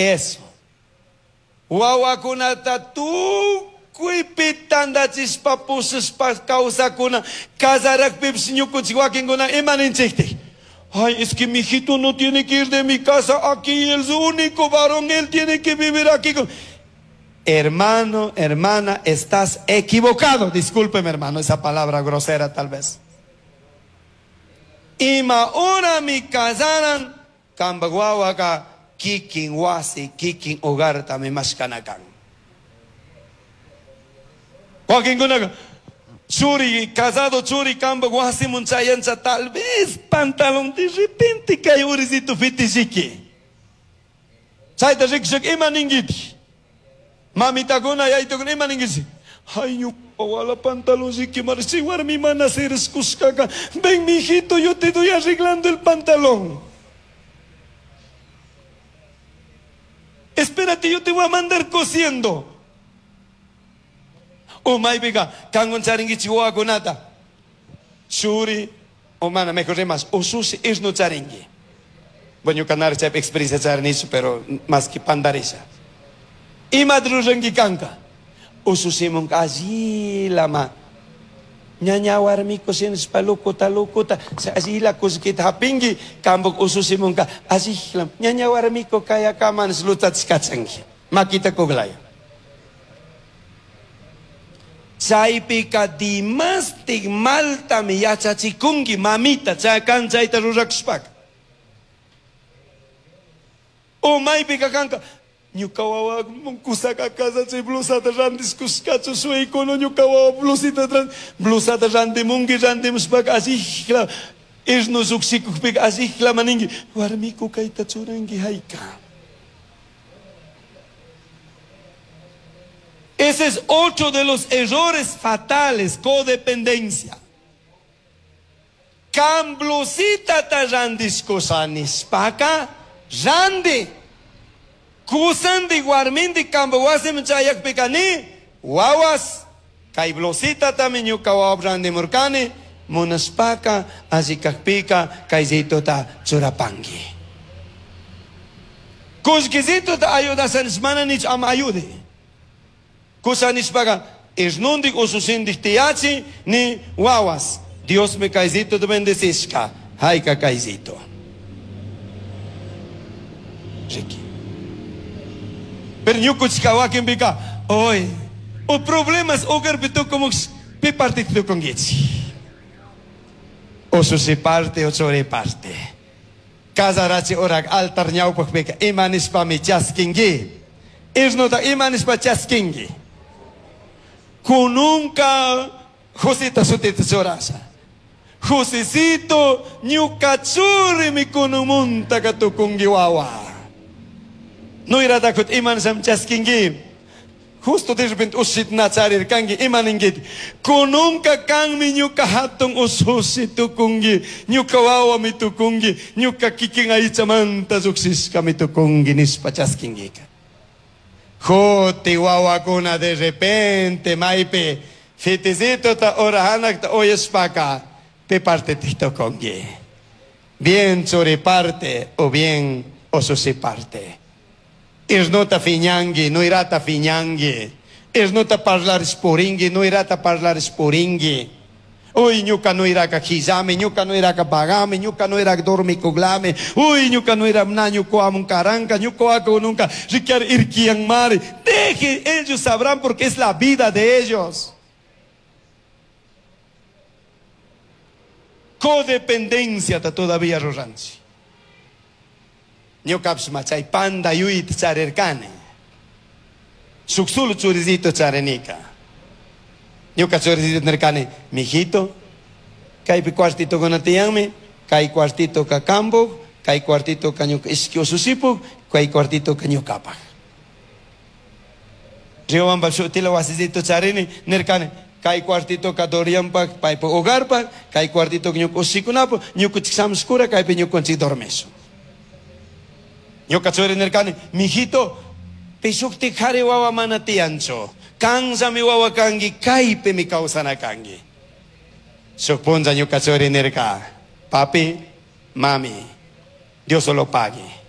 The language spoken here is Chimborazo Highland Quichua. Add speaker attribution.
Speaker 1: Eso. Huahuacunata tucuipi tandachishpa pushashpa causacuna casarajpipish ñukunchik wakinkuna ima ninchiktik? Ay, es que mi hijito no tiene que ir de mi casa aquí, él es único varón, él tiene que vivir aquí. Hermano, hermana, estás equivocado. Discúlpeme, hermano, esa palabra grosera tal vez. Ima horami casaran, cambaj huahuaca kikin wasi, kikin hogartami mashkana kan. Wakinkunaqa churi, casado churi cambaj wasimun chayancha tal vez pantalón de repente kay urisito fitishiki. Chayta rikushaka ima ninguiti? Mamitakuna, yaytukuna ima ninguichi? Ay, ñuka wala pantalón riki marchi warmi mana sirishkushkaka. Ven, mijito, yo te doy arreglando el pantalón. Espérate, yo te voy a mandar cosiendo. O maypica, kangun charinguichi wawakunata. Churi, o mana, mejor rimas, usushi isnu charingui. Bueno, ñuka nara chaypi experiencia charinichu, pero más que pandarisha. Imata ruranki kanka? Usushimunka allilama. Ñaña warmiku shinashpa locuta locuta, allila kullkita hapinki, kambuk usushimunka allila. Ñaña warmiku kayakaman lutachikachanki. Makita kuglaya. Chaypika dimastik maltami yachachikunki mamita, chay kan chayta rurakushpaka. O maypika kanka, ñuka wawa kusaka chay blusata randishkushkachu shuykuna ñuka wawa blusita blusata randimunki randimushpaka allila irnu llukshikukpika allila ninki warmiku kayta churanki hayka. Ese es otro de los errores fatales, codependencia. Kan blusita ta randishkusha nishpaka, randi. Kusandi warmindi kamba wasiman chayakpika ni, wawas, kay blusita tami ñuka wawa randimurkani, munashpaka alli kakpika kaysituta churapanki. Kullkisituta ayudasha mana nich ama ayude. Kusa nishpaka isnundik ususindik tiyachi ni wawas. Dios me kaysito te bendecishka. Hayka kaysito. Ricky. Pero ñukuchika wakinpika, oy, o problemas hogarpi tukumuk pi parte tukunkichik. Usushi parte o churi parte. Casarachi horak altar ñawpakpika ima nishpami chaskinki. Isnuta ima nishpa chaskinki. Kununka Josita sutita churasha. Josecito ñuka churimi kunumunta tukunki wawa. Nuyratakut ima nisham chaskinki. Justo de repente ushit na charirkanki ima ninkiti. Kununka kanmi ñuka hatun usushi tukunki, ñuka wawami tukunki, ñuka kikin aychamanta llukshishkami tukunki nishpa chaskinkika. Juti wawakuna de repente maypi fitisitota orahanakta uyashpaka pi parte tukunki. Bien churi parte o bien usushi parte. Isnuta fiñanki, nuyrata fiñanki. Isnuta parlarish purinki, nuyrata parlarish purinki. Uy, ñuka nuyraka quillami, ñuka nuyraka pagami, ñuka nuyraka dormikuglami. Uy, ñuka nuyra na ñuka amun karanka, ñuka aku nunca riquiar irkian mari. Deje, ellos sabrán porque es la vida de ellos. Codependencia ta todavía ruranchi. Ñukapish chay panda yuyta charirkani. Shuk solo churisito charinika. Ñuka churisito nirkani, mijito, kaypi cuartito tiyanmi, kay cuartito ka kambuk, kay cuartito ka ñuka ishki usushipuk, kay cuartito ka ñukapak. Riobamba shutila wasisito charini, nirkani, kay cuartito ka Dorianpak, paypak hogarpak, kay cuartito ka ñuka ushikunapak, ñukunchik shamushkura, kaypi ñukunchik dormishun. Ñuka churi nirkani, mijito, pishukti kari wawa mana tiyanchu. Kanllami wawa kanki, kaypimi kawsana kanki. Shuk punlla ñuka churi nirka, papi, mami, Dios lo pague.